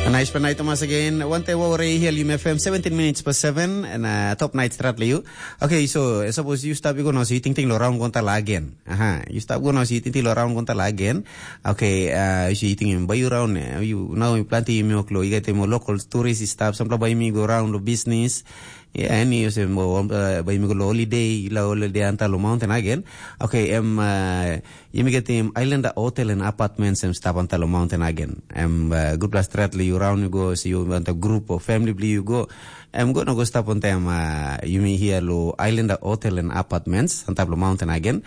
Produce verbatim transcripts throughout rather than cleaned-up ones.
Nice pela night Thomas again. Wante wawre hiel Yumi F M, seventeen minutes past seven, and uh, top night strat le you. Okay, so uh, suppose you stop you go now, so you think ting lo round gonta la again. Aha, you stop go now, so you think ting lo round gonta la again. Okay, uh, so you think ba you round, uh, you now you planti you milk lo, you get more local tourists stop, some ba you go round lo business. Yeah, any you say mo uh, ba you go lo holiday, la holiday anta lo mountain again. Okay, um, uh, Yumi getim Islander Hotel and Apartments em stap antap long mountain again. Em uh, gutpela stret li yu raun yu go, so yu antap grup o family bli yu go. Em go na go stap ontem uh, yumi hia lo Islander Hotel and Apartments antap long mountain again.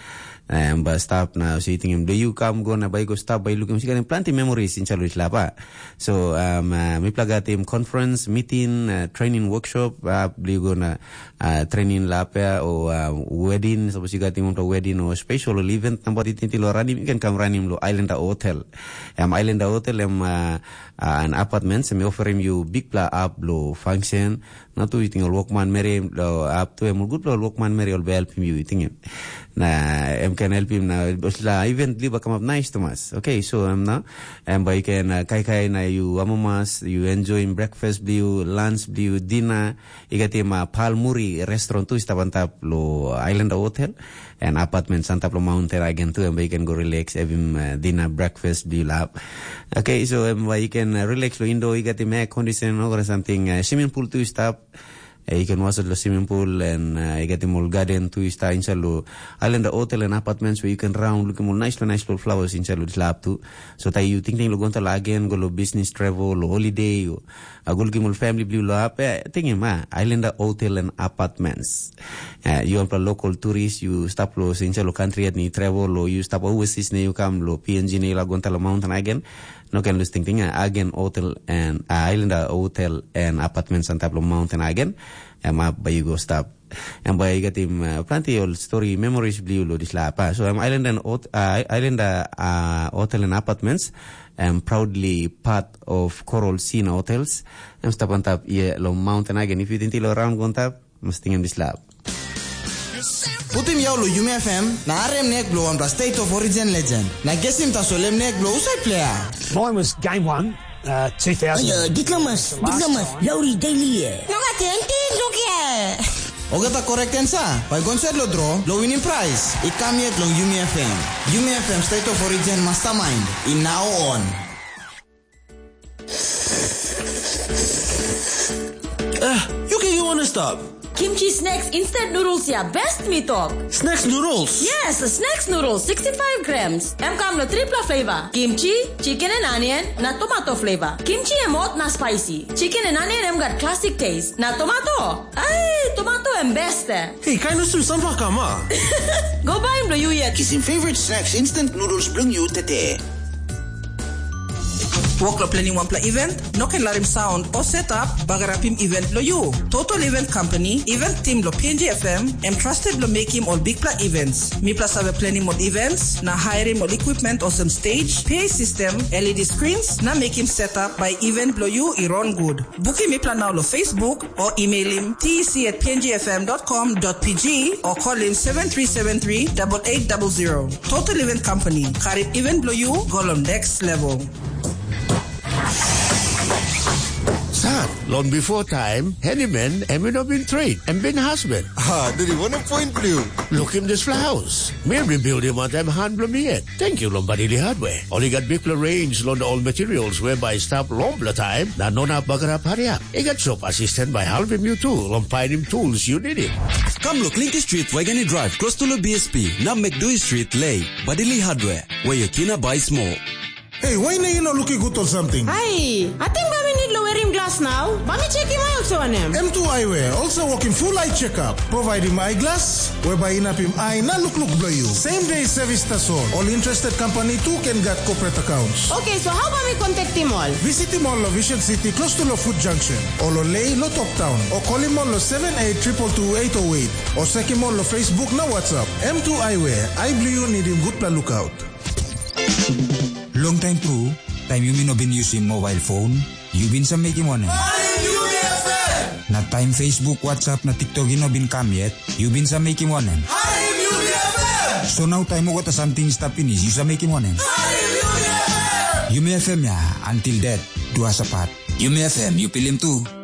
Em ba stap na so yu tingim do yu kam go na bai go stap bai lukim si ganim planti memories insha lo islap ah. So um, uh, mipela gatim conference, meeting, uh, training workshop, uh, bli go na uh, training lap ya o uh, wedding, suppose you got him to wedding or special event number it lo ranim, you can come ranim lo Islander Hotel. Em Islander Hotel em uh, uh, an apartment sem offer him you big pla up lo function. Na tu iting ol workman meri lo up tu em good lo workman meri ol be help him you iting him. Na em can help him na la event liba come up nice to mas. Okay, so em na em ba you can uh, kai kai na you amamas you enjoy him breakfast bliu lunch bliu dinner. I gat him uh, Pal Muri restaurant tu i stap antap lo Islander Hotel and apartments antap lo mountain again tu, and you can go relax, have him uh, dinner, breakfast, do you love? Okay, so um, you can uh, relax lo indo, i gat him air condition or something. Uh, swimming pool tu i stap. Uh, you can wash lo swimming pool and uh, i gat him all garden tu i stap inside lo Islander Hotel and apartments where you can round, look him all nice lo nice lo flowers inside lo slap tu. So tai you think lo gonta la again, go lo business travel, lo holiday, or A gulgim ol family bliu lo ap, eh, tingim, ah, Islander Hotel and Apartments. Eh, you are local tourist, you stap lo sinsa lo country at ni travel, lo you stap overseas na you come lo P N G na you la gonta lo mountain again. No can lose tingting, ah, again hotel and uh, Islander Hotel and Apartments antap lo mountain again. Em up by you go stap. Em bai i gat im uh, planti ol story memories bliu lo dispela apa. So em island and hot, uh, island uh, uh, hotel and apartments, em proudly part of Coral Sea Hotels. Em stap on top ye lo mountain again. If you didn't lo around go on top, must think him this lab. Putim yau lo Yumi F M na arem nek blo wanpela State of Origin legend. Na gesim tasol em nek blo usai player. Mine was game one, uh, two thousand. Ayo, diplomas, diplomas, lauri daily ye. No ka tenti, lukia. Ogata correct answer, bai go inside lo draw, lo winning prize. I kam yet long Yumi F M. Yumi F M State of Origin Mastermind, in now on. Eh, you can you wanna stop? Kimchi snacks instant noodles ya best mi tok. Snacks noodles? Yes, snacks noodles sixty-five grams. Em kam lo tripla flavor. Kimchi, chicken and onion, na tomato flavor. Kimchi em hot na spicy. Chicken and onion em gat classic taste. Na tomato? Ai, tomato em best eh. Hey, kind of some sunflower kama. Go buy em lo you yet. Kisim favorite snacks instant noodles bring you today. Wok lo planning wanpela event, no ken larim sound o setup bagarapim event lo you. Total Event Company, event team lo P N G F M, em trusted lo making all bigpela events. Mipela save planning ol events, na hiring ol equipment olsem stage, P A system, L E D screens, na making setup by event lo you i run good. Bukim mipela nau lo Facebook o emailim T E C at P N G F M dot com dot P G o kolim seven three seven three double eight double zero. Total Event Company, karim event blo you go lo next level. Sat, long before time, handyman em i no bin trade, em bin husband. Ah, dadi wanem point blo you? Look him this house. Mi bin build him on them hand blo mi yet. Thank you, Lombardi Hardware. Only got big range on all materials whereby staff long the time, na no na bagarap hurry up. He got shop assistant by helping you too, long finding tools you need it. Come look Linky Street, Waigani Drive, close to the B S P. Now make Dewey Street, Lay, Badili Hardware, where your kina buy small. Hey, why na you not looking good or something? Ai, ating ba mi need lo werim glas nau? Ba mi chekim ai olso wanem? M two Eyewear also working full eye checkup, providing eyeglass, whereby inapim eye na look look blow you. Same day service tasol. All interested company too can get corporate accounts. Okay, so how ba mi contactim ol? Visit him all lo Vision City close to lo Food Junction, or lo Lay lo Top Town, or call him all lo seven eight triple two eight oh eight, or check him all lo Facebook na WhatsApp. M two Eyewear, eye blue you need him good pla lookout. Long time tru, taim yumi no bin yusim mobile phone, yu bin sa mekim wanem? Na taim Facebook, WhatsApp na TikTok i no bin kam yet, yu bin sa mekim wanem? So nau taim olgeta samting i stap pinis, yu sa mekim wanem? Yumi F M ya, until death. Duasapat. Yumi F M, yu pilim tu.